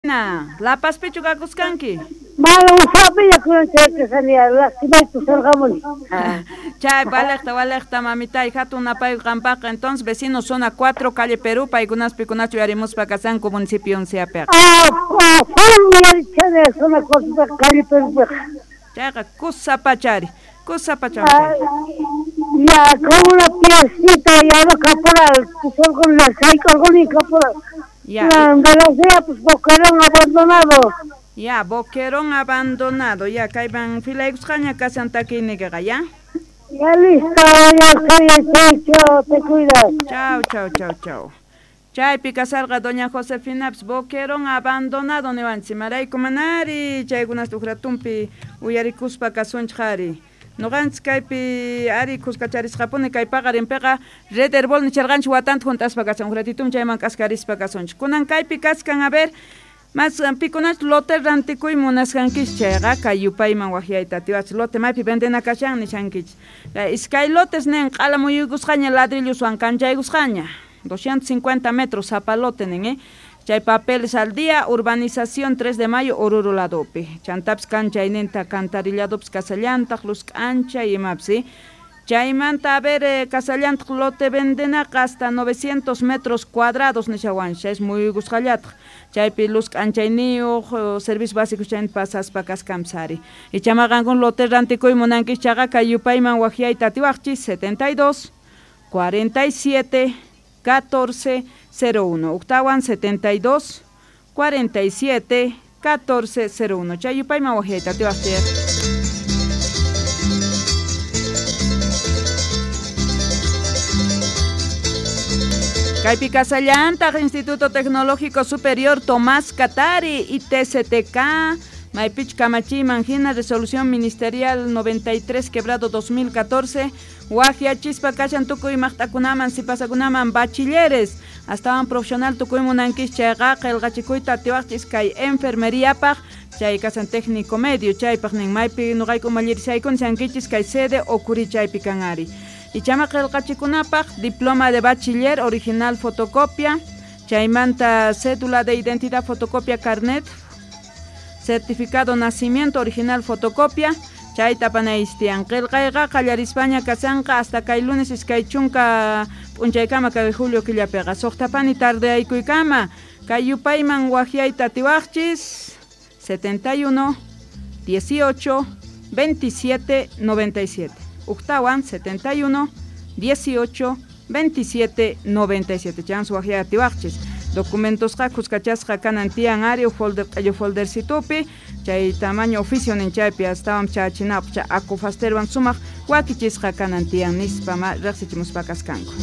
La Pazpichu kakuskanki? Mana usapiña kunan chayakasani lastimayta sarqamuni. Chay walejta walejta mamitay hatun napay qampaqa entonces vecino zona 4 calle Perú paykunas pikunachu uyarimuspa kasanku municipio onceapiqa. Ah, full uyarichani zona 4 calle Perúpiqa. Chayqa kusa pachari, kusa pacha. Ya, como una piecita ya no caporal, la sayk'urquni caporal. Ya. De pues boquerón abandonado. Ya, boquerón abandonado. Ya, kayman filaykusqaña kasan takiynikiqa, ya. Ya listo, ya soy, chao, te cuidas. Chao, chao, chao, chao. Chaypi kasarqa doña Josefina boquerón abandonado niwanchik imarayku manari chaykunasta uj ratunpi uyarikuspa kasunchik ari. Noqanchik kaypi ari kuskacharisqapuni kay paqarinpiqa Red Herbol nicharqanchik watanta junt'aspa kasan uj ratitun chayman k'askarispa kasunchik. Kunan kaypi kaskan a ver mas pikunach lote rantikuy munasqankichik chayqa kay yupayman waqyayta atiwachik lote maypi vendena kashan nishankichik. Iskay lotes nin q'ala muyuykusqaña ladrilloswan kanchaykusqaña 250 metros sapa lote nin chay papeles al día urbanización 3 de mayo Oruro ladopi chantapis kanchayninta cantarilladopis kasallantaq luz k'ancha imapis chaymanta a ver kasallantaq lote vendenaqa hasta 900 metros cuadrados nishawanchik es muyuykusqallataq chaypi luz k'anchayniyuq servicio básico chayta pasaspa kaskanpis ari ichama qankuna lote rantikuy munankichik chayqa kay yupayman waqyayta atiwaqchik 72 47 14 01 uktawan 72 47 14 01 chay yupayman waqyayta atiwaqchik. Kaypi kasallantaq Instituto Tecnológico Superior Tomás Katari ITCTK maypich kamachiyman hina resolución ministerial 93 quebrado 2014 waqyachispa kashan tukuy maqt'akunaman sipasakunaman bachilleres astawan profesional tukuy munankichik chayqa qillqachikuyta atiwaqchik kay enfermeriapaq chay kasan técnico medio chaypaq nin maypi nuqayku umallirishaykuni shankichis kay sede Ocuri chaypi kan ari. Ichama qillqachikunapaq diploma de bachiller original fotocopia chaymanta cédula de identidad fotocopia carnet certificado nacimiento original fotocopia chayta panaystian qillqayqa qallarispaña kasanqa hasta kay lunes iskay chunka p'unchaykama kay julio killapiqa suqtapani tardeaykuykama kay yupayman waqyayta atiwaqchis 71 18 27 97 uktawan 71 18 27 97 chans waqyay atiwaqchis documentosqa kuskachasqa kanan tiyan ari folder q'ellu foldercitupi chay tamaño oficio nin chaypi astawan chachinapaq chay akufasterwan sumaq wakichisqa kanan tiyan nispa ma riqsichimuspa kaskanku.